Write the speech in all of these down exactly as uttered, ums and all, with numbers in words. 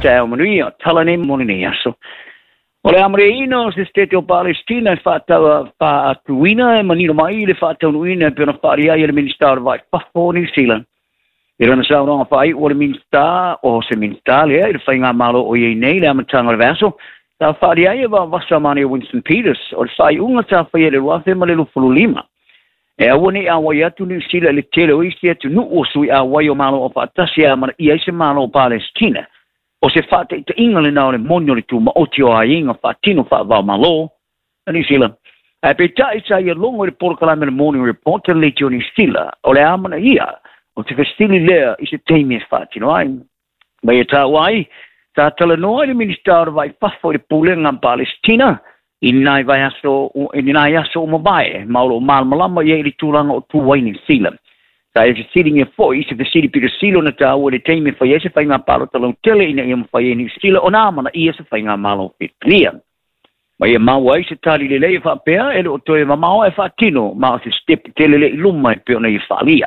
Taeao manuia, tala nei mo lenei aso. O le amanaia o se Setete o Palestina e faatuina e manino mai le faataunuuina e pei ona faaalia ai e le Minisita o le Vai Fafo o Niu Sila. I lana saunoaga faaiu o le Minisita o se Minisita lea i le faigamalo o iai nei le amataga o le vaiaso, sa faaalia ai e vaavasa manaia Winston Peters o le faaiuga sa faia i le lua afe ma le luafulu lima. E aua nei auai atu Niu Sila i le tele o isi atunuu o sui auai o Malo Aufaatasi e amanaia ai se Malo o Palestina. O se faataitaiga lena o le moni o le tumaoti o aiga faatino faava-o-Malo a Niu Sila. Ae peitai sa ia logo i le polokalame le Morning Report a le Leitio Niu Sila o le amanaia o te fesili lea i se taimi e faatino ai. Ma ia taua ai, sa talanoa i le Minisita o le Vai Fafo i le pulega Palestina i nai vaiaso i nai aso o mavae ma o loo malamalama ia i le tulaga o tu ai Niu Sila. Sa e fesiligia foi i se fesili pitosili ona taua i le taimi e fai ai se faiga palota lautele ina ia mafai ai Niu Sila ona amanaia se faigamalo filifilia. Ma ia maua ai se tali lelei e faapea e le o toe mamao e faatino ma o se sitepu tele le i luma e pei ona ia faalia.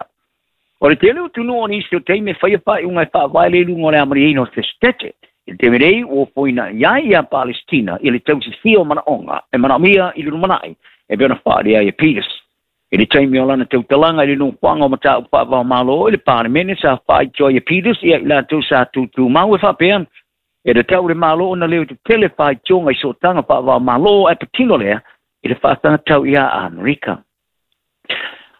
O le tele o atunuu o nisi o taimi e faia faaiuga e faavae le iluga o le amanaia o se Setete. I le taimi nei ua ofoina i ai ia Palestina i le tausisia o manaoga e manaomia i le lumanai e pei ona faaalia ai e Peters. I le taimi o lana tautalaga i le nofoaga o mataupu faava-o-Malo i le Palemene sa faaitoa ai e Peters ia i latou sa tutumau e faapea e tatau le Malo ona leo tetele faitioga i sootaga faava-o-Malo ae patino lea i le faasagatau ia Amerika.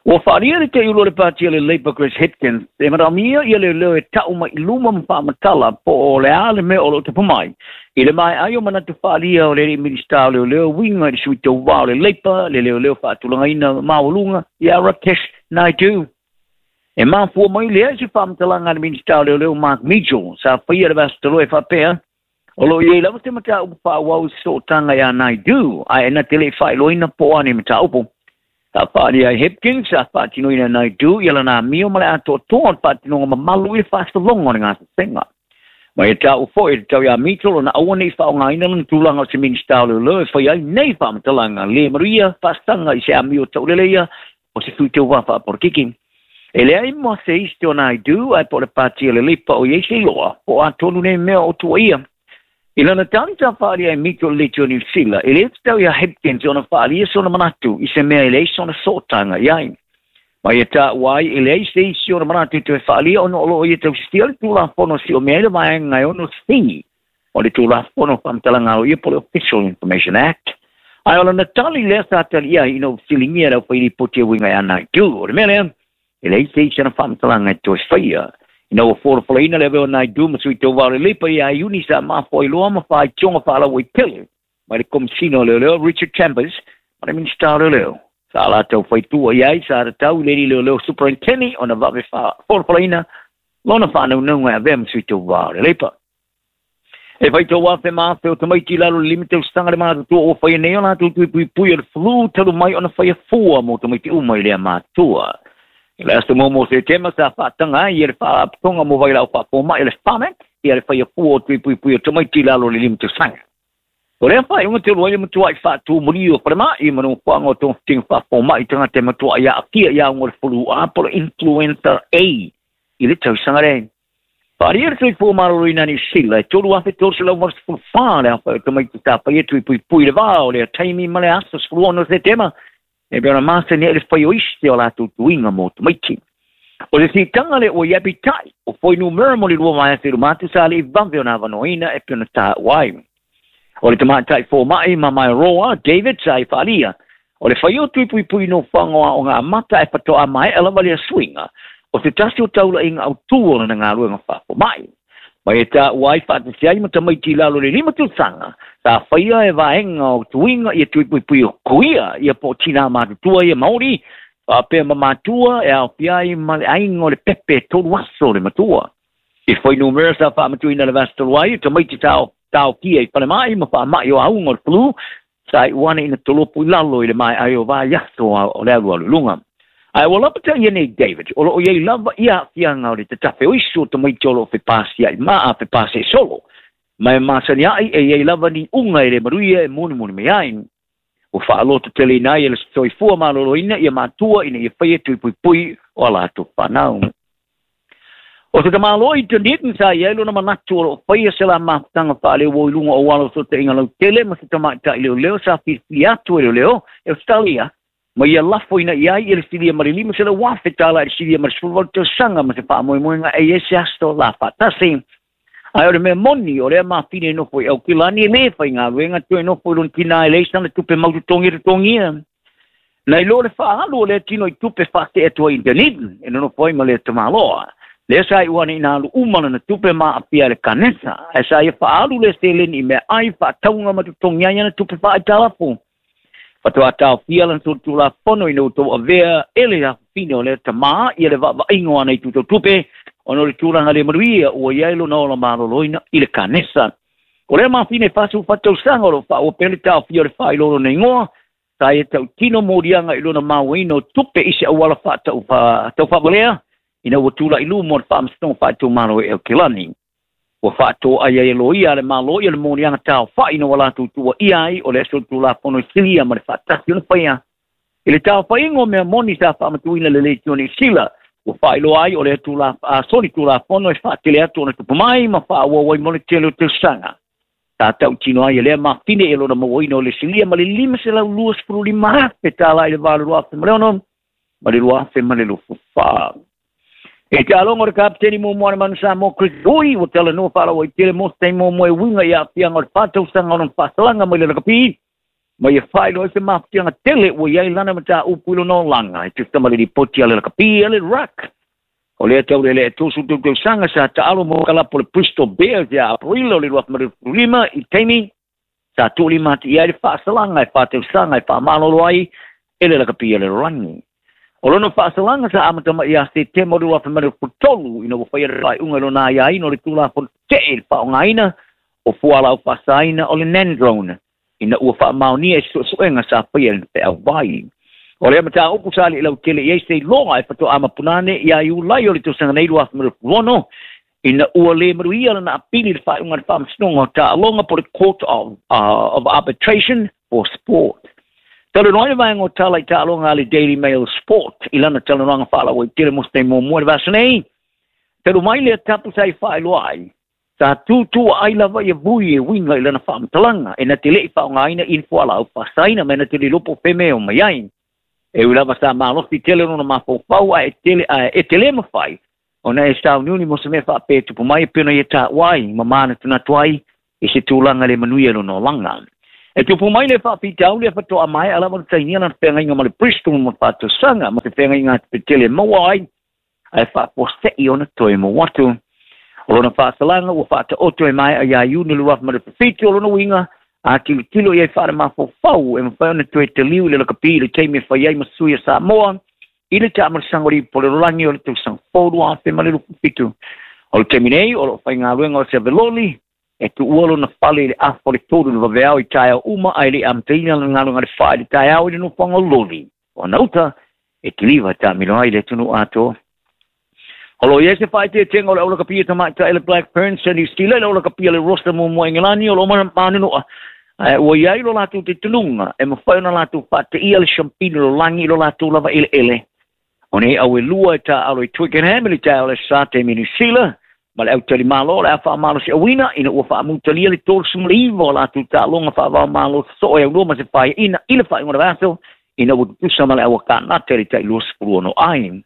Ua faalia le teiulu o le pati o le Labour Chris Hipkins e manaomia ia leoleo e tau mai i luma ma faamatala po o le a le mea o loo tapu mai i le mae ai o manatu faalia o le alii Minisita o Leoleo uiga i le sui tauvā o le Labour le leoleo faatulagaina maualuga ia Rakesh Naidu. E mafua mai lea i se faamatalaga a le Minisita o Leoleo Mark Mitchell sa faia le vaiaso talu ai e faapea o loo i ai lava se mataupu faaauau i sootaga ia Naidu ae na te le i faailoaina po o a nei mataupu. Sa faalia ai Hipkins sa faatinoina Naidu ia lana amio ma le atoatoa o le faatinoga mamalu i le faasologa o le gasesega. Ma e tau foi le tau ia Mitchell ona aua nei faaaogaina lana tulaga o se Minisita o Leoleo e fai ai nei faamatalaga le manuia faasaga i se amio tauleleia o se sui tauvā faapolokiki. E leai mo se isi o Naidu ae po o le pati o le Labour o iai se iloa po o a tonu nei mea o tuaia. I lana tali sa faalia e Mitchell i le Leitio Niu Sila, e le tatau ia Hipkins ona faalia sona manatu i se mea e leai sona sootaga i ai. Ma ia taua ai e leai se isi ona manatu toe faalia ona o loo ia tausisia le Tulafono siomea ai le vaega e ono C o le Tulafono Faamatalaga Aloaia po o le Official Information Act. Ae o lana tali lea sa tali ai ina ua fesiligia e le aufailipoti e uiga ia Naidu. O le mea lea, e leai se isi ana faamatalaga e toe faia. Ina ua folafolaina le avea o Naidu ma sui tauvā o le Labour ia Iuni sa mafuailoa ma faitioga faalauaitele mai le Komesina o Leoleo Richard Chambers ma le Minisita o Leoleo. Sa latou faitua i ai sa tatau i le alii leoleo Superintendent ona vave folafolaina lona faanaunauga e avea ma sui tauvā o le Labour. E faitau afe ma afe o tamaiti i lalo le lima tausaga le matutua ua faia nei o latou tui puipui o le flu talu mai ona faia fua mo tamaiti uma i lea matua. I le aso muamua o Setema sa faataga ai e le Faalapotopotoga mo Vailaau Faafomai o le Pharmac ia le faia fua o tui puipui o tamaiti i lalo le lima tausaga. O lea faaiuga talu ai le matuai faatumulia o falemai ma nofoaga o togafitiga faafomai tagata e matuai aafia i auga o le flu A po o le influenza A i le tausaga lea. Faalia le Soifua Maloloina Niu Sila e tolu afe tolu selau valusefulu fa le aofai o tamaiti sa faia tui puipui i le vā o lea taimi ma le aso sefulu ono o Setema e pei ona masani ai le fai o isi o latou tuiga mo tamaiti. O le siitaga lea ua i ai peitai o fuainumera mo le lua vaiaso i luma atu sa le i vave ona avanoaina e pei ona taua ai. O le tamaitai fomai ma Maeroa David sa i faalia o le fai o tui puipui nofoaga o aoga amata e faatoa maea lava lea suiga o se tasi o taulaiga autū o lana galuega faafomai. Ma e taua ai faatasi ai ma tamaiti i lalo le lima tausaga sa faia e vaega o tuiga ia tui puipui o kuia ia po o tinā matutua ia Maori faapea ma matua e aofia ai ma le aiga o le pepe e tolu aso le matua. I fuainumera sa faamatuina le vaiaso talu ai o tamaiti taofia i falemai ma faamai o auga o le flu sa iu ane ina tolopo i lalo i le mae ai o vaiaso o le alualu i luga. Ae ua lapata ia nei David, o loo i ai lava ia aafiaga o le tatafe o isi o tamaiti o loo fepasiai ma a fepasiai solo. Ma e masani ai e i ai lava ni uga e le manuia e monimoni mai ai. Ua faalototeleina ai e le Soifua Maloloina ia matua ina ia faia tui puipui o a latou fanau. O se tamalo i Dunedin sa iai lona manatu o loo faia se la mafutaga faaleuo i luga o alo sotaʻiga lautele ma se tamaʻitaʻi leoleo sa filifili atu e leoleo e Australia ma ia lafoina i ai i le silia ma le lima selau afe tala i le silia ma le sefuluvalu tausaga ma se faamoemoega e iai se aso la faatasi. Ae o le mea moni o lea mafine e nofo i Aukilani e lē faigaluega toe nofo i lona tinā e leai sana tupe mautotogi e totogia. Na iloa le faaalu o lea tino i tupe faateʻe atu ai i Dunedin e nonofo ai ma lea tamāloa. Lea sa iu ane ina alu uma lana tupe maapia i le kanesa, ae sa ia faaalu lea seleni i meaai faatauga ma totogi ai ana tupe faaitalafo. Faatoa taofia lana solitulafono ina ua tou avea e le afafine o lea tamā ia le vaavaaiga o ana itu tautupe ona o le tulaga le manuia ua i ai lona ola maloloina i le kanesa. O lea mafine e fasulufa tausaga o loo faaua pea le taofia o le faailoa o lona igoa, sa ia tautino moliaga i lona mauaina o tupe i se auala faataufavalea ina ua tulaʻi luma o le faamasinoga faaitumalo e Aukilani. Ua faatoai ai e loia a le Malo ia le moliaga taofaʻi ina ua latou tuuaʻia ai o le solitulafono i silia ma le faatasi ona faia. I le taofaiga o mea moni sa faamatuina le Leitio Niu Sila, ua faailoa ai o le solitulafono e faatele atu ona tupu mai ma faaauau ai mo le tele o tausaga. Sa tautino ai e lea mafine e lona mauaina o le silia ma le lima selau luasefulu lima afe tala i le valo lua afe ma le ono ma le lua afe ma le luafufa. E te aloga o le kapiteni muamua a le Manu Samoa Chris Ui ua talanoa faalauaitele mo se taimi muamua e uiga i aafiaga o le fa tausaga o lona faasalaga mai le lakapi ma ia faailoa ai se mafatiaga tele ua i ai lana mataupu i lona olaga e tusa ma le lipoti a le lakapi a le Ruck. O lea taulelea e tolusefulu tolu tausaga sa taalo mo kalapo le Bristol Bears ia Aperila o le lua afe ma le lima i taimi sa tuulima atu i ai le faasalaga e fa tausaga e faamalolo ai e le lakapi a le lalolagi. O lona faasalaga sa amata mai ia Setema o le lua afe ma le tolu ina ua faia le faaiuga i lona aiaina o le tulafono teʻe i le faaaogaina o fualaau faasaina o le nandrolone ina ua faamaonia e suesuega sa faia i le feauvai. O lea mataupu sa alii lautele i ai se iloga e faatoa mapunane ia Iulai o le tausaga nei lua afe ma le ono ina ua lē manuia lana apili i le faaiuga a le faamasinoga o taaloga po le Court of, uh, of Arbitration for Sport. Talanoa ai le vaega o tala i taaloga a le Daily Mail Sport i lana talanoaga faalauaitele mo se taimi muamua i le vasa nei. Talu mai lea tapu sa i faailoa ai, sa tutua ai lava ia vui e uiga i lana faamatalaga e na te leʻi faaaogaina i ni fualaau faasaina ma e na te le iloa po o fea o mai ai. E ui lava sa malosi tele lona mafaufau ae tele ae e te lē mafai ona e sauniuni mo se mea faapea e tupu mai e pei ona ia taua ai ma manatunatu ai i se tulaga le manuia lona olaga. E tupu mai le faafitauli e faatoa maea lava ona sainia lana feagaiga ma le Bristol mo le fa tausaga ma se feagaiga atupetele e maua ai ae faafuaseʻi ona toe mo atu. O lona faasalaga ua faataoto e maea iā Iuni le lua afe ma le fitu o lona uiga a tilotilo i ai faalemafaufau e mafai ona toe taliu i le lakapi i le taimi e fai ai ma sui a Samoa i le taamalosaga o le ipu o le lalolagi o le tausaga fou lua afe ma le luafufitu. O le taimi nei o loo faigaluega o se aveloli e tuua lona fale i le afa o le tolu i le vaveao i taeao uma ae leʻi amataina lana galuega le fa i le taeao i le nofoaga o loli o ana uta e kiliva taamilo ai le atunuu atoa. O loo i ai se faaeteetega o le aulakapia tamaʻitaʻi le Black Ferns sa Niu Sila i le aulakapia le Roster muamua Engelani o loo manunuʻa ae ua i ai lo latou talitonuga e mafai ona latou faateia le siampini lalolagi i lo latou lava eleele. O nei au e lua e taaalo i Twickenham i le taeao le sa taimi Niu Sila ma le autalimalo o le a faamalosiauina ina ua faamutalia le tolusefulu ma le iva o latou taaloga faavaomalo sosoo e aulua ma se faiaina i le faaiuga o le vaiaso ina ua tutusa ma le auakanata i le tai luasefulu ono ai.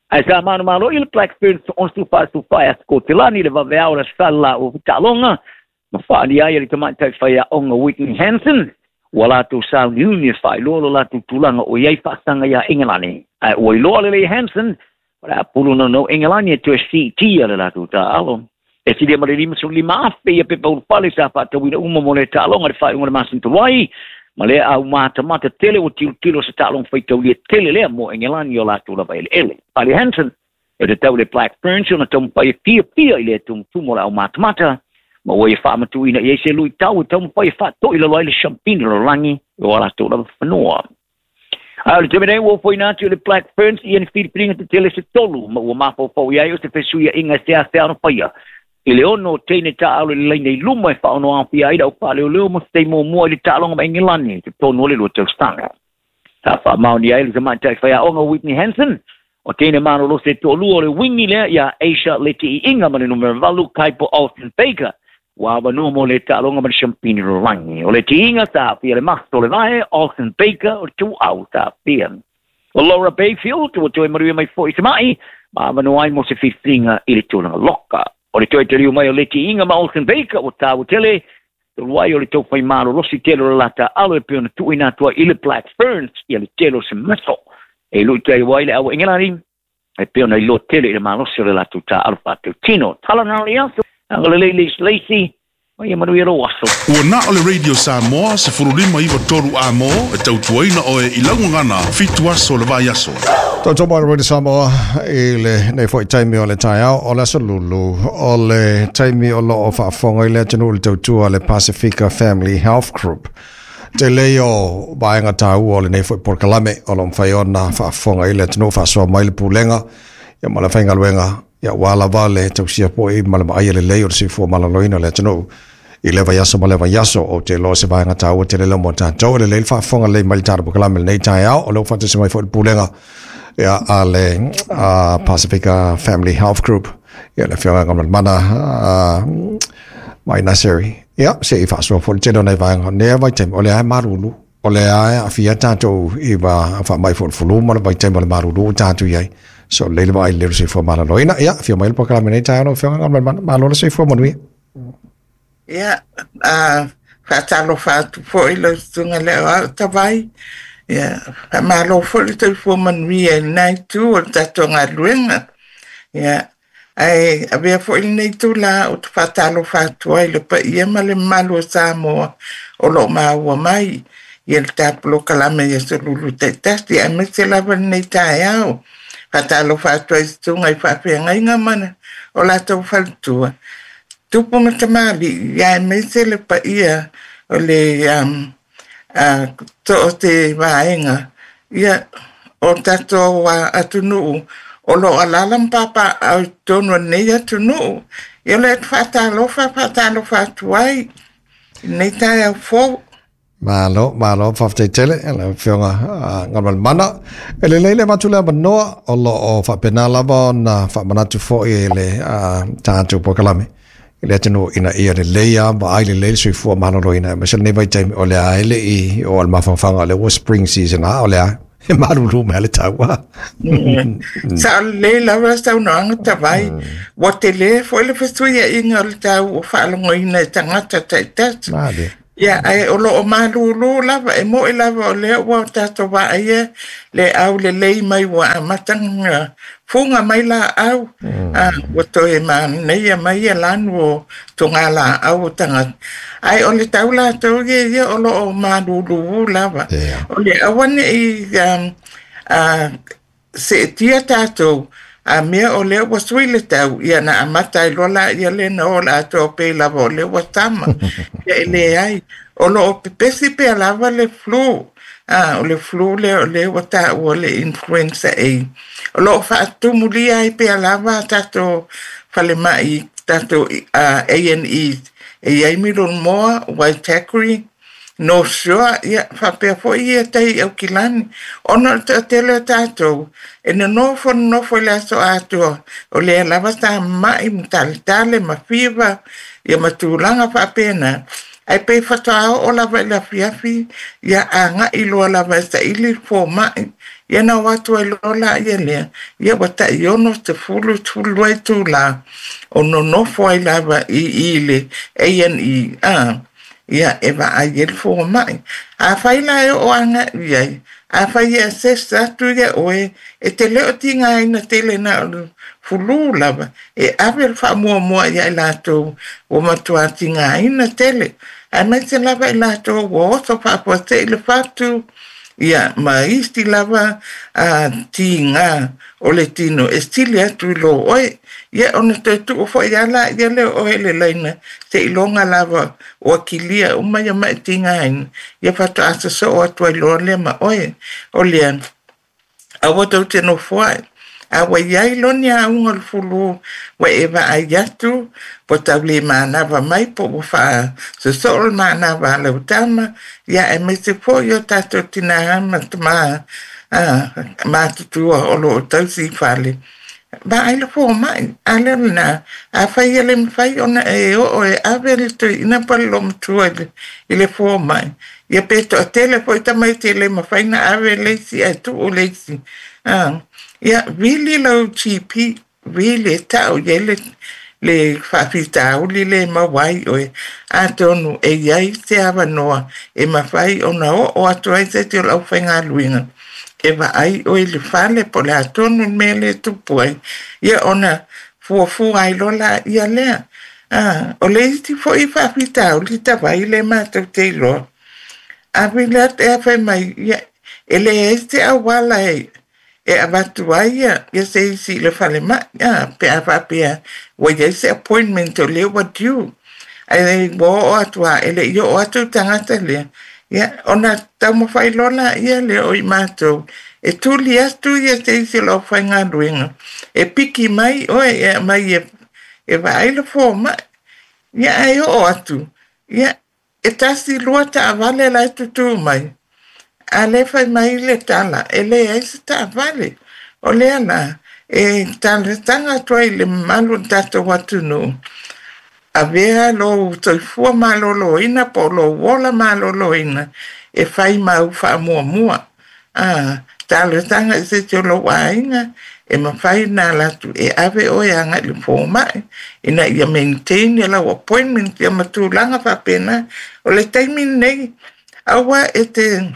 Ae sa manumalo i le Black Ferns ono fa fa a Skotelani le vaveao le sala o taaloga ma faalia ai e le tamaʻitai faiaoga Whitney Hansen ua latou sauniuni e faailoa lo latou tulaga o iai faasaga iā Engelani. Ae ua iloa lelei Hansen o le a pulu naunau Engelani e toe siitia le latou taaalo. E silia ma le lima lima afe ia pepa ulufale sa faatauina uma mo le taaloga le faaiuga o le masina talu ai ma lea au matamata tele ua tilotilo se taaloga faitaulia tele lea mo Engelani o latou lava eleele. Pali Hansen e tatau le Black Ferns ona taumafai e fiafia i le tumutumu o le au matamata ma ua ia faamatuina i ai se luitau e taumafai e faatoʻi lalo ai le siampini lalolagi o a latou lava fanua. A o le taimi nei ua ofoina atu i le Black Ferns ia ni filifiliga tetele se tolu ma ua mafaufau i ai o se fesuiaʻiga e seasea ona faia i le ono teine taaalo i le laina i luma e faaono afia ai le au faaleoleo mo se taimi muamua i le taaloga ma Engelani i totonu o le lua tausaga. Sa faamaonia ai le tamaʻitai faiaoga Whitney Hansen O tene malolosi e to'alua o le wingi lea ia Asia Leti'i'iga ma le numera valu Kaipo Austin Baker ua avanua mo le ta'aloga ma le siampini lalagi. O le ti'iga sa a'afia le maso o le vae Austin Baker o le tu'au sa a'afia. O Laura Bayfield ua toe manuia mai fo'i sema'i ma avanoa ai mo se filifiliga i le tulaga loka. O le toe taliu mai o Leti'i'iga ma Austin Baker ua tāua tele talu ai o le taufai malolosi tele o le lata alo e pei ona tu'uina atu ai i le Black Ferns ia le tele o se maso e lu'i ai ai le aua Engelani e pei ona iloa tele i le malosi o le latou ta'alo fa'atautino. Tala na le aso agalelei le Lacey ma ia manuia lou aso. Ua na o le Radio Samoa sefululima iva tolu amo e tautuaina oe i laugagana fitu aso le vaiaso. Tautua mai le Radio Samoa i lenei foi taimi o le taeao o le aso Lulu o le taimi o loo faafofoga i le atunuu le tautua le Pasifika Family Health Group. Tele o vaega taua o lenei foi polokalame o lo mafai ona faafofoga i le atunuu faasoa mai le pulega ia ma le faigaluega ia ua lava le tausia po'i ma le vaaia lelei o le soifua maloloina o le atunuu i le vaiaso ma le vaiaso. Ou te iloa se vaega taua tele lea mo tatou e lelei le faafofoga lelei mai le tatou polokalame lenei taeao o lea ua faatasi mai foi le pulega ia a le Pasifika Family Health Group ia le afioga Galumalemana mai Naseri ia se i faasoa foi le tele o nai vaega nea vaitaimi o lea e malulu o lea e aafia tatou i faamai foi le flu ma le vaitaimi o le malulu ua tatou i ai. So lelei le vaai lelei o le soifua maloloina ia afio mai le polokalame lenei taeao lau afioga Galumalemana. Malo le soifua manuia. Ia, a faatalofa atu foi lau susuga le Aoao Tavai. Ia, faamalo foi le soifua manuia i lena itu o le tatou galuega. Ia, ae avea foi lenei itulā ou te faatalofa atu ai i le paia ma le mamalu o Samoa o lo o maua mai ia le ta polokalame i aso Lulu taitasi aemaise lava lenei taeao. Faatalofa atu ai i susuga i faafeagaiga ma o latou faletua, tupu ma tamalii, ia aemaise le paia o le um, uh, so o se vaega ia o tatou uh, atunuu o lo o alaala ma papaaao i totonu o lenei atunuu. Ia o le atu faatalofa, faatalofa atu ai i lenei taeao fou. Malo, malo, faafetai tele lau afioga Galumalemana. E lelei le avatu le avanoa o loo faapena lava ona faamanatu foi e le tatou polokalame i le atunuu ina ia lelei a vaai lelei le soifua maloloina aemaise lenei vaitaimi o lea e le i oo le mafaufauga o lea ua spring season a o lea e malulu mai le tau a. Sao lelei lava saunoaga Tavai. Ua tele foi le fesuiaiga o le tau ua faalogoina e tagata taitasi. Male. Ia, ae o lo o malūlū lava, e mo'i lava o lea ua tatou vaaia le aulelei mai ua amata ona fuga mai laau, a ua toe manaia mai ia lanu o togalaau o tagata. Ae o le tau latou ia ia o lo o malūlū lava. Yeah. O le aua ne'i um, a, se'etia tatou a mea o lea ua sui le tau, ia na amata ai loa laia lea na o le atoa pei lava o lea ua sama. Ia e leai, o lo o pepesi pea lava le flu. A, o le flu lea o lea ua taua le influenza A. O lo o faatumulia ai pea lava a tatou falemai, tatou uh, A and E. E i ai Middlemore, Waitakere, North Shore, ia faapea foi ia tai i Aukilani. Ona o le toatele o tatou, e nonofo nonofo i le aso atoa, o lea lava sa ma'i ma taletale ma fiva, ia ma tulaga faapena. Ae pei faatoa oo lava i le afiafi, ia aga'i loa lava e saili le foma'i. Ia na o atu ai loa laia lea, ia ua tai ono, sefulu, sefululua itulā, o nonofo ai lava i i le A and E, a, ia e vaai ai le foma'i. Afai la e oo aga'i ai, afai e assess atu ia oe, e te le o tigaina tele na o le flu lava, e ave le faamuamua ia i latou ua matuā tigaina tele. Aemaise lava i latou ua oso faafuase'i le fatu, ia ma isi lava a tiga o le tino e sili atu i lo oe. Ia ona toe tuu foi lava laia lea o oe i le laina seiloga lava ua kilia uma ia ma'i tigaina, ia faatoa sosoo atu ai loa lea ma oe. O lea, aua tou te nofoa'i. A ua i ai loa ni auga o le flu ua e vaai atu ua tau le manava mai po ua faasosoo le manava a lau tama, ia aemaise foi o tatou tinā ma tamā A matutua o loo tausi fale. Vaai le fomai, a lea lena, afai e le mafai ona e oo e ave le toeaina po o le olomatua i le fomai, ia pe toatele foi tamaiti e le mafai ona ave le isi ae tuu le isi. Ia vili lau G P, vili e tau i ai le le faafitauli le maua ai oe, atonu e i ai se avanoa e mafai ona oo atu ai se isi o le aufaigaluega e vaai oe i le fale po o le a tonu le mea lea e tupu ai, ia ona fuafua ai loa laia lea. O le isi foi faafitauli tavai le matou te iloa, a vili atu e fai mai, ia e leai se auala e e avatu ai ia se isi i le falemai, pe a faapea ua i ai se appointment o lea ua due, ae ua oo atu lava e le i oo atu le tagata lea, ia ona taumafai loa laia lea o i matou e tuli atu ia se isi o le aufaigaluega e piki mai oe e aumai e vaai le fomai. Ia ae oo atu, ia e tasi lua taavale la e tutū mai, a le fai mai le tala e leai se taavale. O lea la e talosaga atu ai i le mamalu o le tatou atunuu, avea lou soifua maloloina po o lou ola maloloina e fai ma au faamuamua. A talosaga i se isi o lou aiga e mafai ona alu atu e ave oe agai i le fomai ina ia maintain lau appointment ia ma tulaga faapena. O le taimi lenei, aua e te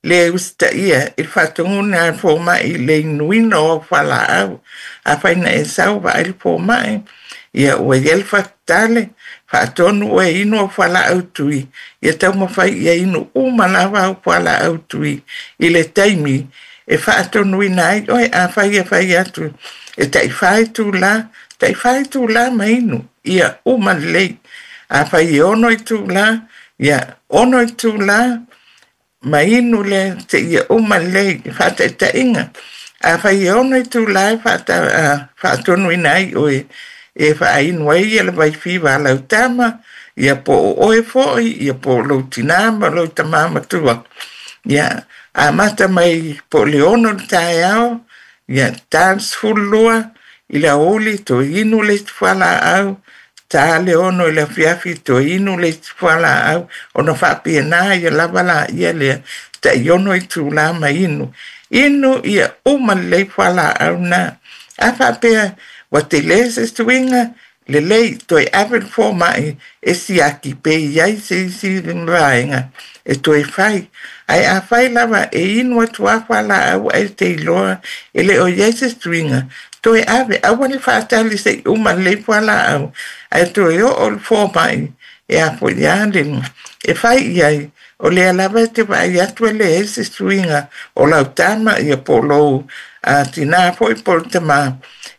le usitaia i le faatonuga a le fomai i le inuina o au fualaau. Afai na e sau vaai le fomai, ia ua i ai le faafetale, faatonu oe e inu au fualaau tui, ia taumafai ia inu uma lava au fualaau tui i le taimi e faatonuina ai oe. Afai e fai atu e taʻi itulā, taʻi itulā ma inu, ia uma lelei. Afai e ono itulā, ia ono itulā ma inu lea seia uma lelei faataitaiga. Afai e ono itulā e faatonuina ai oe e faainu ai ia le vaifiva a lau tama, ia po o oe foi, ia po o lou tinā ma lou tamā matua. Ia amata mai po o le ono le taeao, ia ta le sefululua i le aoauli toe inu le isi fualaau, ta le ono i le afiafi toe inu le isi fualaau, ona faapena ia lava laia lea taʻi ono itulā ma inu. Inu ia uma lelei fualaau na. A faapea ua tele se suiga, lelei toe ave le fomai e siaki pe i ai se isi vaega e toe fai. Ae afai lava e inu atu lava fualaau ae te iloa e le o i ai se suiga, toe ave, aua le faatali seʻi uma lelei fualaau, ae toe oo le fomai e afoʻi a le e fai i ai. O lea lava e te vaai atu e leai se suiga o lau tama ia po o lou tinā foi po o le tamā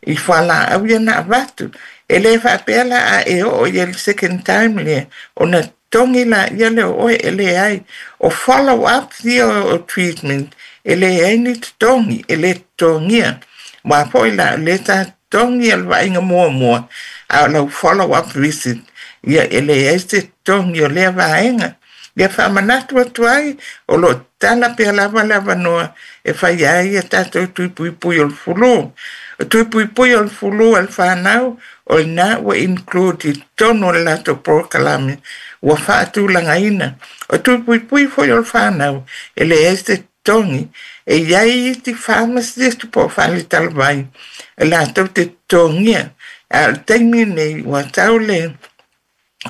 i fualaau ia na avatu. E le faapea la a e oo ia le second time lea ona totogi laia lea o oe, e leai. O follow up ia o treatment e leai ni totogi, e le totogia. Aua foi la o lea sa totogi le vaaiga muamua, a o lau follow up visit ia e leai se totogi o lea vaega. Ia faamanatu atu ai o loo tatala pea lava le avanoa e fai ai ia tatou tui puipui o le fulu. O tui puipui o le fulu a le fanau, o lena ua include i totonu o le latou polokalame ua faatulagaina. O tui puipui foi o le fanau e leai se totogi. E i ai isi pharmacist po o faletalavai e latou te totogia. A o le taimi lenei ua tau le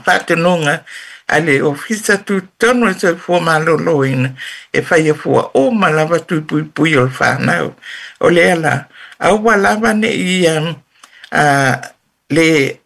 faatonuga a le ofisa tutotonu o le soifua maloloina e faia fua uma lava tui puipui o le fanau. O lea la, aua lava neʻi le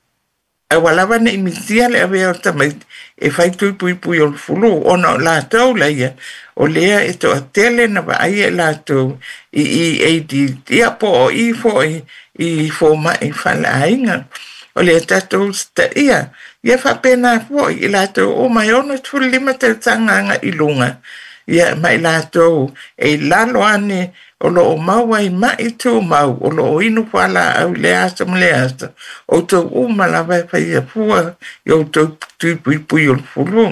aua lava neʻi misia le avea o tamaiti e fai tui puipui o le fulu, ona o latou laia o lea e toatele na vaaia i latou i E A D, ia po o i foi i fomai faleaiga. O lea tatou usitaia, ia faapena foi i latou uma e ono sefululima tausaga agai i luga. Ia ma i latou e i lalo ane o loo maua i mai tumau o loo inu fualaau i le aso ma le aso, outou uma lava e faia fua i outou tui puipui o le fulu.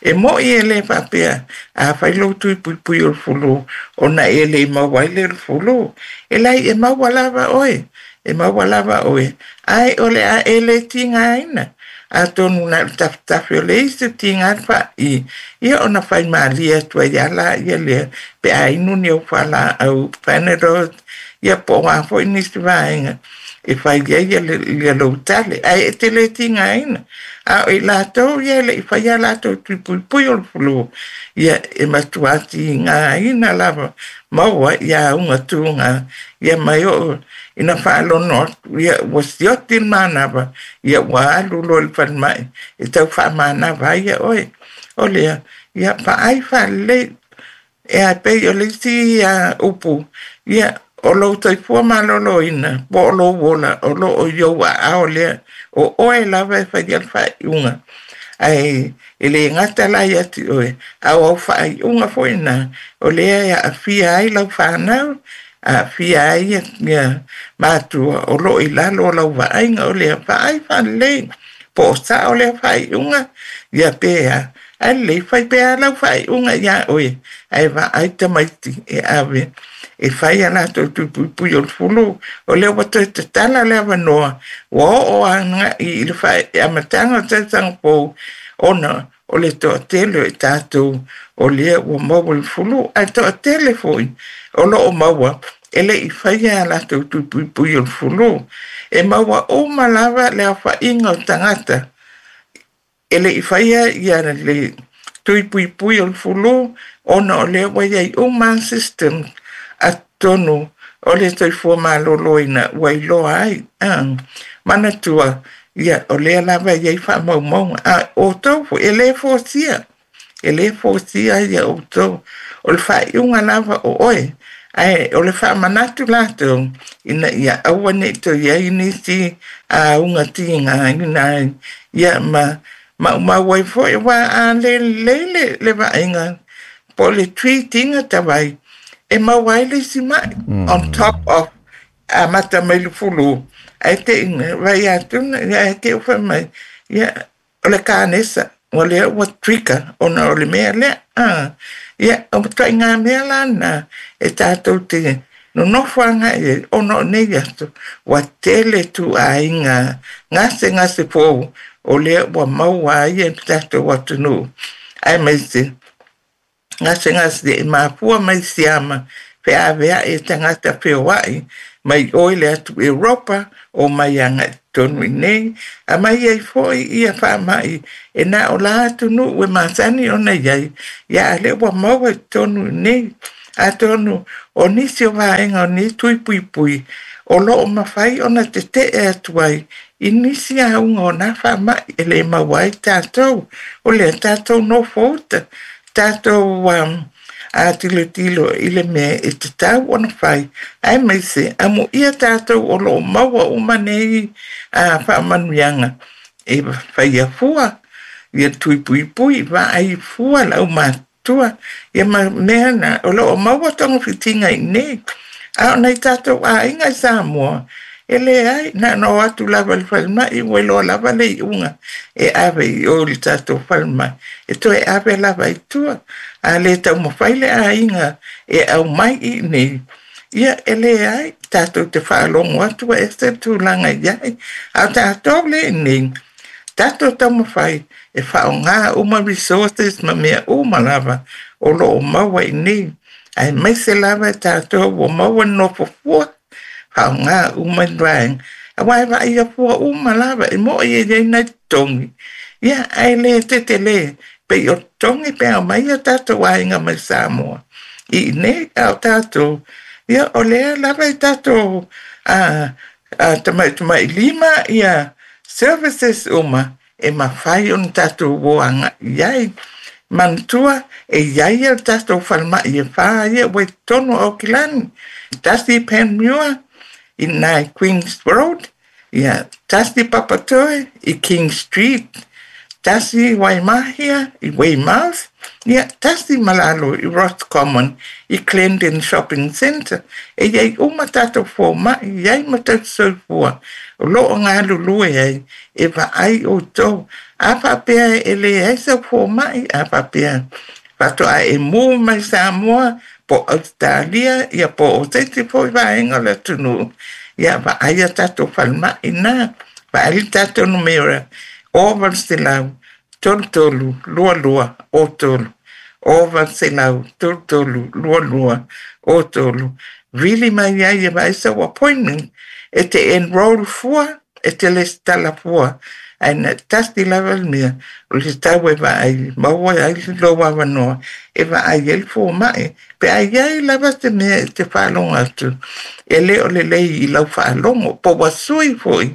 E mo'i e lē faapea a fai lou tui puipui o le fulu ona e le maua ai le fulu. E lai e maua lava oe, e maua lava oe, ae o le a e le tigaina. Atonu na o le tafetafe o le isi tiga le fa'i, ia ona faimalie atu ai lava laia lea pe a inu ni au fualaau Panadol, ia po o a foi nisi vaega e fai ai ia lou tale, ae e te le tigaina. A o i latou ia e le'i faia latou tui puipui o le fulu, ia e matuā tigaina lava maua ia auga tuga, ia mai oo ina faalono atu ia ua sioti le manava, ia ua alu loa i le falemai e tau faamanava ai ia oe. O lea ia vaai faalelei e a pei o le isi upu, ia o lou soifua maloloina po o lou ola o loo i ou aao lea, o oe lava e faia le faaiuga. Ae e le gata la ia te oe, a o au faaiuga foi na o lea e aafia ai lau fanau, aafia ai ia matua o loo i lalo o lau vaaiga. O lea vaai faalelei po o sao lea faaiuga, ia pe a ae lelei fai pea lau faaiuga iā oe, ae vaai tamaiti e ave e fai a latou tui puipui o le fulu. O lea ua toe tatala le avanoa, ua oo aga'i i le amataga o tausaga fou ona o le toatele o i tatou o lea ua maua i le fulu, ae toatele foi o loo maua e le'i faia a latou tui puipui o le fulu. E maua uma lava le aofa'iga o tagata e le'i faia ia le tui puipui o le fulu, ona o lea ua iai uma system atonu o le soifua maloloina ua iloa ai. Manatua ia o lea lava e iai faamaumauga, a outou foi e lē fosia, e lē fosia ia outou, o le faaiuga lava o oe, ae o le faamanatu latou ina ia aua ne'i toe iai nisi auga tigaina ai, ia ma maumau ai foi uā a lē lelei le, le vaaiga po o le treat-iga tavai e maua ai le isi ma'i on top of amata mai le fulu, ae te'i vai atuna ia ae te u fai mai ia o le kanesa ua lea ua trigger ona o le mea lea. Ia o matuaiga mea la na e tatou te nonofo aga'i ai ona o nei aso ua tele tu'aiga gasegase fou o lea ua maua ai e le tatou atunuu, aemaise gasegase e mafua mai siama feavea'i e tagata feoa'i mai oi le atu Europa o mai aga'i totonu i nei, aumai ai foi ia faama'i e na o la atunuu e masani ona iai, ia a lea ua maua i totonu i nei. Atonu o nisi o vaega o nei tui puipui o loo mafai ona tete'e atu ai i nisi auga o nā faama'i e lē maua ai tatou. O lea tatou nofouta, tatou um, a tilotilo i le mea e tatau ona fai, aemaise amuia tatou o loo maua uma nei a faamanuiaga e faia fua ia tui puipui, vaai fua le aumatua ia ma mea na o loo maua togafitiga i nei. A o nai tatou aiga i Samoa e leai, na ona o atu lava i le falemai ua iloa lava le iuga e ave i o i le tatou falemai, e toe ave lava i tua. A lē taumafai le aiga e aumai i nei, ia e leai tatou te faalogo atu ua ese le tulaga i ai. A o tatou le i nei tatou taumafai e faaaogā uma resources ma mea uma lava o loo maua i nei, aemaise lava e tatou ua maua nofo fua, faaaogā uma i vaega auā e vaaia fua uma lava e mo'i e iai nai totogi, ia ae lē tetelē pei o totogi pe aumai ia tatou aiga mai Samoa i inei. A o tatou ia o lea lava i tatou a tamaitama'i lima ia services uma e mafai ona tatou o aga'i ai. Manatua e iai ia le tatou falemai e fā ia ua i totonu o Aukilani, tasi i Panmure i nai Queens Road, ia tasi Papatoe i King Street, tasi Waimahia i Weymouth, Ia tasi malalo i Roscommon i Clendon Shopping Centre e iai uma tatou foma'i iai ma tausisoifua o loo galulue ai e vaai outou. A faapea e leai sau foma'i, a faapea faatoa e mū mai Samoa po Australia ia po o se isi foi vaega o le atunuu, ia vaai a tatou falemai na vaai le tatou numera o valu selau tolu tolu lua lua o tolu o valu selau tolu tolu lua lua o tolu. Vili mai ai e vaai sau appointment e te enroll fua e te lesitala fua ae na tasi lava le mea o le tau e vaai maua ai lou avanoa e vaai ai le foma'i pe a iai lava se mea e te faalogo atu e lē o lelei i lau faalogo po ua sui fo'i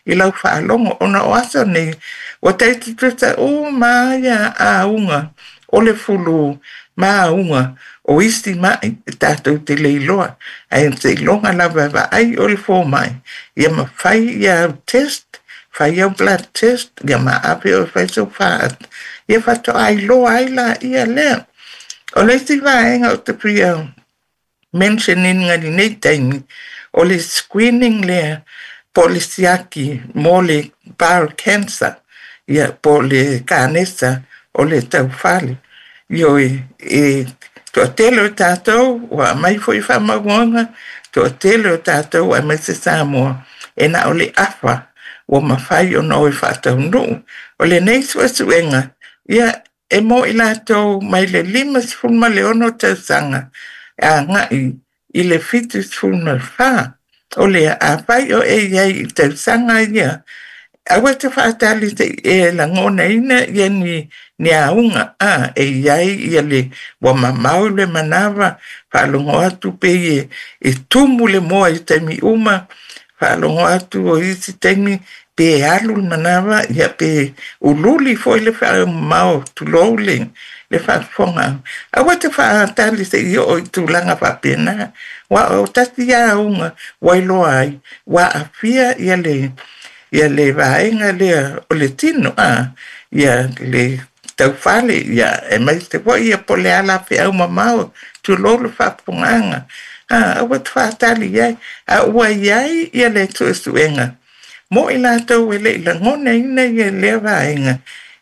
i lau faalogo ona o aso nei ua taitutusa uma ia auga o le fulu ma auga o isi ma'i e tatou te le iloa ae seiloga lava e vaai o le foma'i ia mafai ia au test fai au blood test ia ma ave oe fai sau faata ia faatoa iloa ai laia lea. O le isi vaega o te fia mention ina lenei taimi o le screening lea po o le siaki mo le bowel cancer ia po o le kanesa o le taufale. Ioe, e toatele o tatou ua aumai foi faamaumauga, toatele o tatou aemaise Samoa e na o le afa ua mafai ona o e faataunuu. O lenei suesuega ia e mo i latou mai le lima sefulu ma le ono tausaga agai i le fitu sefulu ma le fa. O lea afai o e iai i tausaga ia aua te faatali se'i e lagonaina ia ni ni auga a e iai ia le ua mamao le manava faalogo atu pei e, e tumu le moa i taimi uma faalogo atu o isi taimi pe alu le manava ia pe ululi foi le faaumamao tulou le le faafofoga. Aua te faatali se'i oo i tulaga faapena ua o tasi ia auga ua iloa ai ua aafia ia le ia le vaega lea o le tino a ia le taufale ia aemaise foi ia po o le a feau mamao tulou le faafofogaaga a aua te faatali ai a ua iai ia le suesuega mo i latou e le'i lagonaina ia lea vaega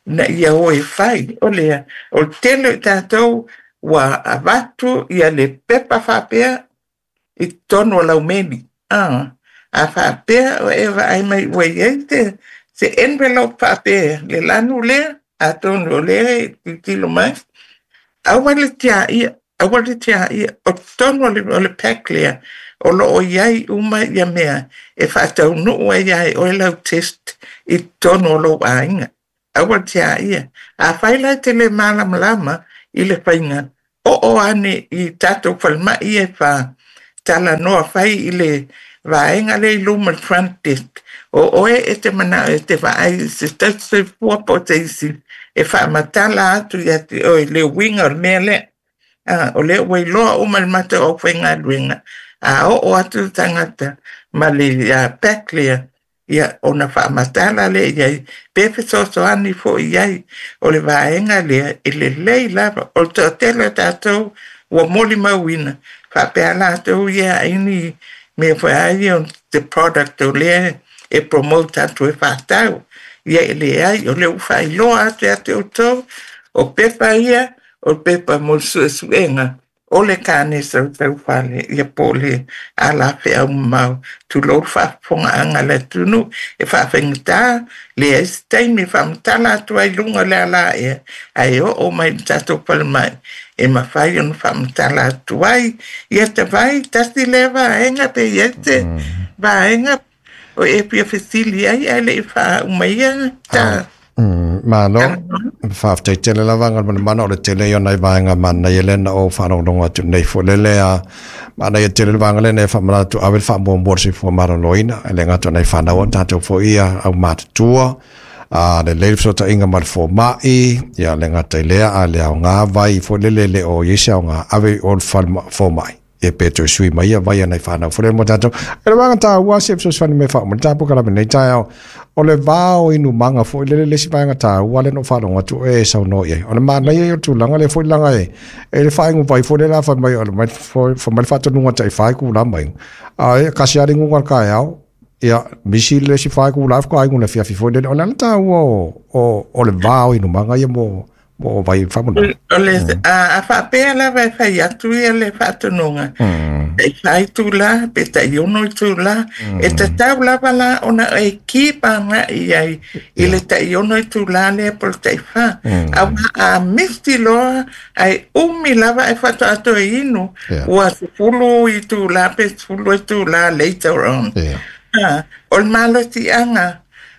ina ia o e fai. O lea o le tele o i tatou ua avatu ia le pepa faapea i totonu o laumeli a a faapea o e vaai mai ua iai se se envelope faapea le lanu lea atonu o lea e tilotilo mai aua le tiaia aua le tiaia o totonu o le, o le pack lea o loo iai uma ia mea e faataunuu ai ai oe lau test i totonu o lou aiga. Aua le tiaia. Afai la e te le malamalama i le faiga oo ane i tatou falemai e fa talanoa fai i le vaega lea i luma le front desk o oe e te manao e te vaai i se tausisoifua po o se isi e faamatala atu ia te oe le uiga o le mea lea. A o lea ua iloa uma le matou aufaigaluega a oo atu le tagata ma le pack lea ia ona faamatala lea iai pe fesoasoani foi iai o le vaega lea e lelei lava. O le toatele o tatou ua molimauina faapea latou ia aini mea foi a ia the product o lea e promote atu e faatau ia e leai o lea ua faailoa atu ia te outou o pepa ia o pepa mo le suesuega o le kanesa o taufale ia po o le alafeau mamao tulou le faafofogaaga a le atunuu e faafaigata leai se taimi e faamatala atu ai luga o le alaea ae oo mai i le tatou falemai e mafai ona faamatala atu ai ia tavai tasi lea vaega pe iai se vaega o e fia fesili ai ae le'i faaumaia ta. Malo, faafetai tele lava Galumalemana o le tele ia o nai vaega manaia lea na ou faalogologo atu nei foi le lea manaia tele le vaega lea na e faamanatu ave le faamuamua le soifua maloloina e le gata o nai fanau o tatou foi ia au matutua a le lelei le fesootaiga ma le foma'i ia le gata i lea a le aoga vai foi lele le o iai se aoga ave i o le foma'i e pe toe sui mai ia vai a nai fanau foi le mo tatou. E le vaega taua se fesoasoani me faauma le tapu kalame nei taeao O le vao inumaga foʻi lele le isi vaega taua le no faalogo atu e saunoa i ai. O le manaia ia o le tulaga lea foʻi laga e e le faaigu vai foi le la fai mai o le mai fai mai le faatonuga taʻifā itulā mai. A e kasi lava le iguga o le taeao ia misi le isi fa itulā faatoa igu le afiafi foi lele. O le ala taua o o o le va o inumaga ia mo mo vai faamonoa. O le a a faapea lava e fai atu ia le faatonuga. Taʻifā itulā pe taʻiono itulā e tatau lava la ona e keep agaʻi ai i le taʻiono itulā lea po o le taʻifā. Auā a misi loa ae umi lava ae faatoa toe inu ua sefulu itulā pe sefulu itulā later on. A o le malosiaga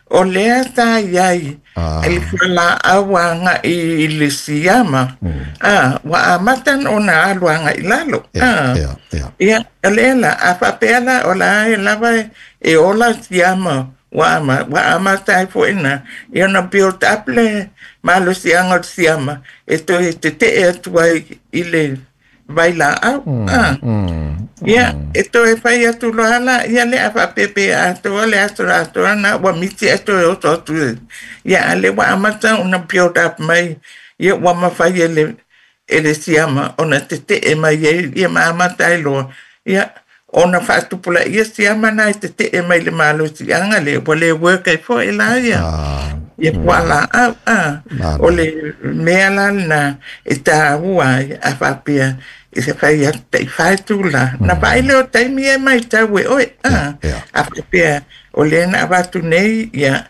o lea sa iai e le fualaau agaʻi i le siama a ua amata ona alu agaʻi lalo a ia o lea la a faapea la o la e lava e ola siama ua ama ua amata ai foʻi na ia ona build up le malosiaga o le siama e toe teteʻe atu ai i le vailaau a ia e toe fai atu loa la ia le a faapea atoa le aso atoa na ua misi ae toe oso atu ia a le ua amata ona build up mai ia ua mafai e le e le siama ona teteʻe mai ai ia ma amata ai loa ia ona faatupulaia siama na e teteʻe mai le malosiaga lea ua le work ai foʻi la ia ia fualaau a o le mea la lena e taua ai a faapea e se fai atu taʻifā itulā na vaai lea o taimi e matau e oe a a faapea o lea na avatu nei ia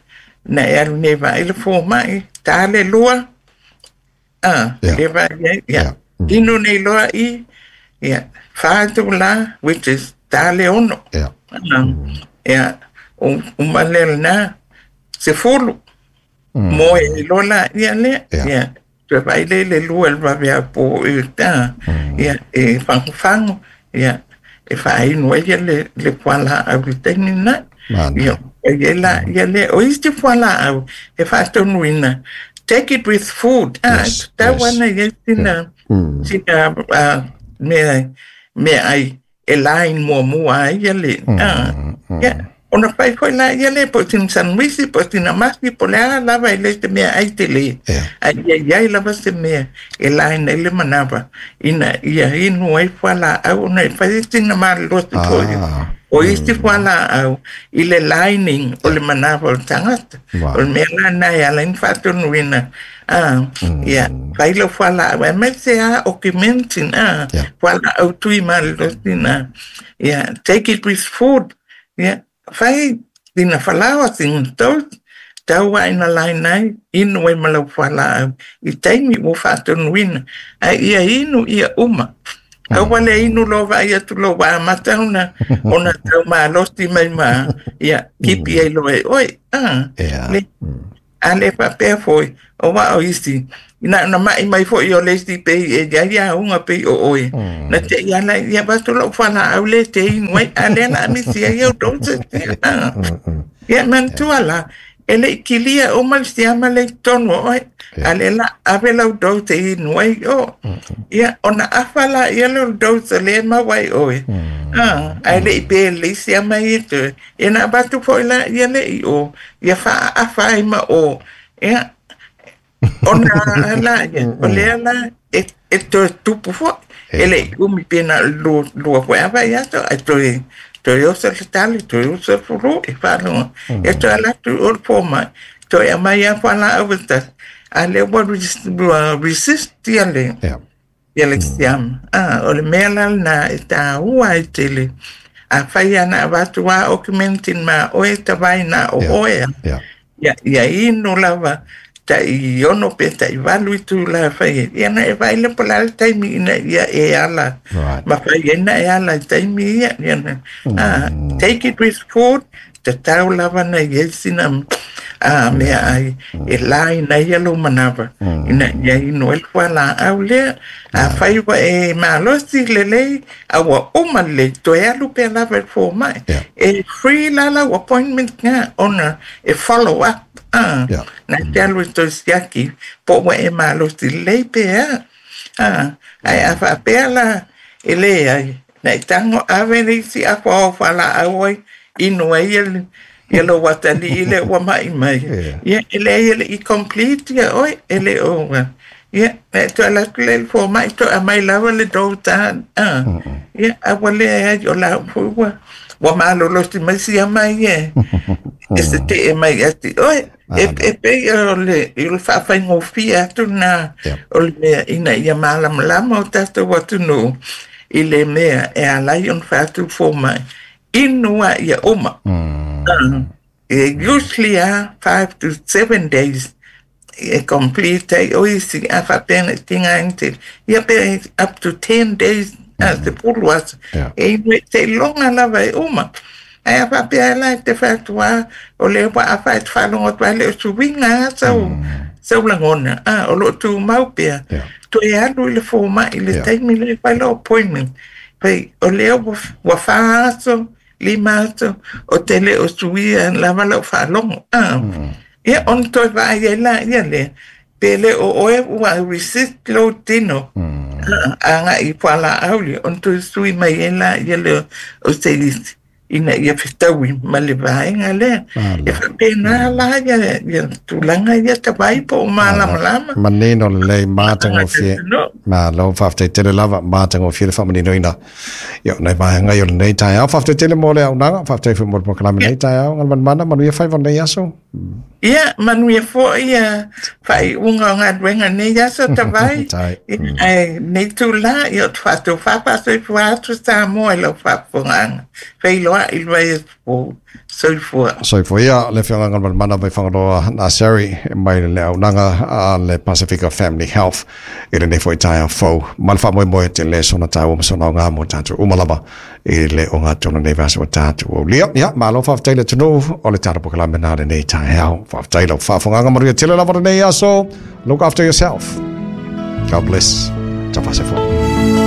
na e alu nei vaai le fomaʻi tā le lua a le vaai ai ia inu nei loa i ia fa itulā which is tā le ono ia uma lea lena sefulu moe ai loa laia lea ia toe vaai lea i le lua i le vave apo i ta ia e fagofago ia e faainu ai ia le le fualaau i le taimi lena ia ai laia lea o isi fualaau e faatonuina take it with food a tatau ana iai sina sina mea mea ai e line muamua ai ia le a ia ona fai foʻi laia lea po o sina sanuisi po o sina masi po o le a lava e le se mea ai tele ae ia iai lava se mea e line ai le manava ina ia inu ai fualaau ona e fai ai sina malolosi foʻi o isi fualaau i le lining o le manava o le tagata o le mea lana e ala ai ona faatonuina a ia fai lau fualaau aemaise a Augmentin a fualaau tui malolosi na ia take it with food ia fai sina falaoa sina toast tau ae na line ai inu ai ma lau fualaau i taimi ua faatonuina ae ia inu ia uma aua le inu loa vaai atu loa ua amata ona ona tau malosi mai ma ia kipi ai loa e oe a le a le faapea foʻi o ua o isi ina ona maʻi mai foʻi o le isi pei e iai auga pei o oe na teʻi ala ia avatu loʻu fualaau le te inu ai a lea la misi ai au doses ia manatua la e leʻi kilia uma le siama le i totonu o oe a lea la ave lau dose e inu ai o ia ona afa la ia lea o le dose lea e maua ai oe a ae leʻi pe lelei siama ia toe ia na avatu foʻi la ia leʻi o ia faaafa ai ma o ia ona la ia o lea la e e toe tupu foʻi e leʻi umi pe na o le lua lua foʻi ava ia aso ae toe toe oso le tali toe oso le fulu e faalogo e toe ala atu i o le fomaʻi toe aumai a fualaau e tasi a lea ua resist ia le ia le siama a o le mea la lena e taua ai tele afai ana avatu a Augmentin ma oe tavaina o oe ia ia inu lava taʻiono pe taʻivalu itulā fai ai ia na e vaai lea po o le a le taimi ina ia e ala ma fai ai na e ala i taimi ia ia na take it with food tatau lava na iai sina a mea ai e line ai ia lou manava ina ia inu ai le fualaau lea afai ua e malosi lelei a ua uma lelei toe alu pea lava i le fomaʻi e free la lau appointment ga ona e follow up a na te alu e toe siaki po ua e malosi lelei pe a a ae a faapea la e leai na e tago ave le isi afa o fualaau ai inu ai ia Ia lo watali ile ua mai mai. Ia ele ia le i complete ia oi ele o ia e to ala le fo mai to a mai lava le dota ah ia a wale ai o la ua ua malolo si mai sia mai e e se te e mai ati oi e e pe o le i le faafaigofie atu na o le mea ina ia malamalama o tatou atunuu i le mea e alai ona faatu fomai inu a ia uma. E usually a five to seven days e complete ai o isi a faapena tiga tele ia pe up to ten days a se pulu aso e inu e teiloga lava e uma. Ae a faapea la e te fatuā o le ua a fae te faalogo atu ai le o suiga a sau sau lagona a o loo tumau pea toe alu i le fomai i le taimi le fai lou appointment fai o lea ua fā aso lima aso o te le o suia lava lau faalogo a ia ona toe vaai ai laia lea pe le o oe ua resist lou tino agai i fualaau lea ona toe sui mai ai laia lea o se isi ina ia fetaui ma le vaega lea. E faapena la ia ia tulaga ia tavai po o malamalama. Manino lelei matagofie. Malo faafetai tele lava matagofie le faamaninoina ia nai vaega i o lenei taeao. Faafetai tele mo le auaunaga, faafetai foi mo le polokalame lenei taeao. Galumanamana manuia faiva o lenei aso. Ia manuia foi ia faaiuga o galuega nei aso tavai. Ae nei tula ia o te faatofā faasoifua atu Samoa i lau faafofogaaga. Feiloai i le vaiaso soifua. Soifua ia le afioga Galumanamana mai Fagaloa Naseri mai le auaunaga a le Pasifika Family Health i lenei foi taeao fou. Ma le faamoemoe tele sona taua ma sona aoga mo tatou uma lava i le ogatonu nei vaiaso ua tatou aulia. Ia malo faafetai le atunuu o le tatou polokalame na lenei taeao. Faafetai lau faafofogaga manuia tele lava lenei aso. Look after yourself. God bless. Tafasefo.